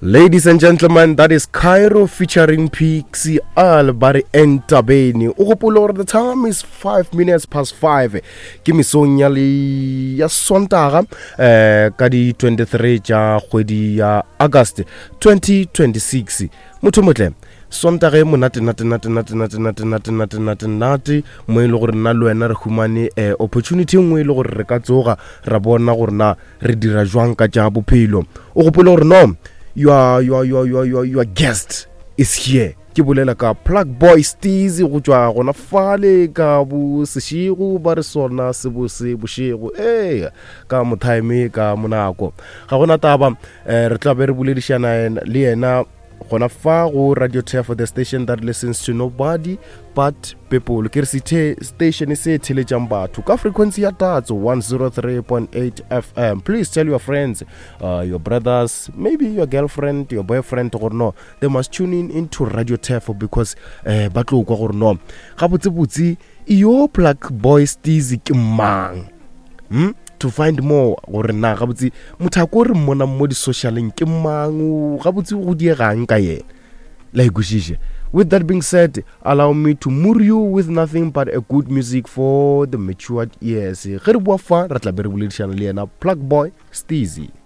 Ladies and gentlemen, that is Cairo featuring Pixie Al Bari Entabeni. O gopole gore the time is 5 minutes past 5. Ke mesong ya le ya Sontaga eh ka di 23 tša kgwedi ya August 2026. Motho motle Sontaga e monate nate nate nate nate nate nate nate nate nate mo e le gore nna le wena re humane eh, opportunity e nngwe e le gore re ka tsoga ra bona gore na re dira jwang ka tša bophelo o gopole gore no your, your, your, your, your, your guest is here ke bolela ka plug boy steezy go tšwa gona fale ka bo sešego ba re sona se bose bošego ee ka mothaeme ka monako ga gona taba um re tla be re boledišana le yena gona fa go radio tefo the station that listens to nobody but people ke re sithe station se theletšang batho ka frequency ya tatso 103.8 fm please tell your friends uh, your brothers maybe your girlfriend your boyfriend gore no they must tune in into radio tefo because uh, ba tlo kwa gore no gabotsebotse yo black boy steezy ke mang hmm? to find more gore na gabotse motho a ko re mmonang mo di-socialeng ke mang gabotse go diegang ka yena la ikwešiše with that being said allow me to moor you with nothing but a good music for the matured ears ge re boa fa re tla be re boledišana le yena plug boy steezy.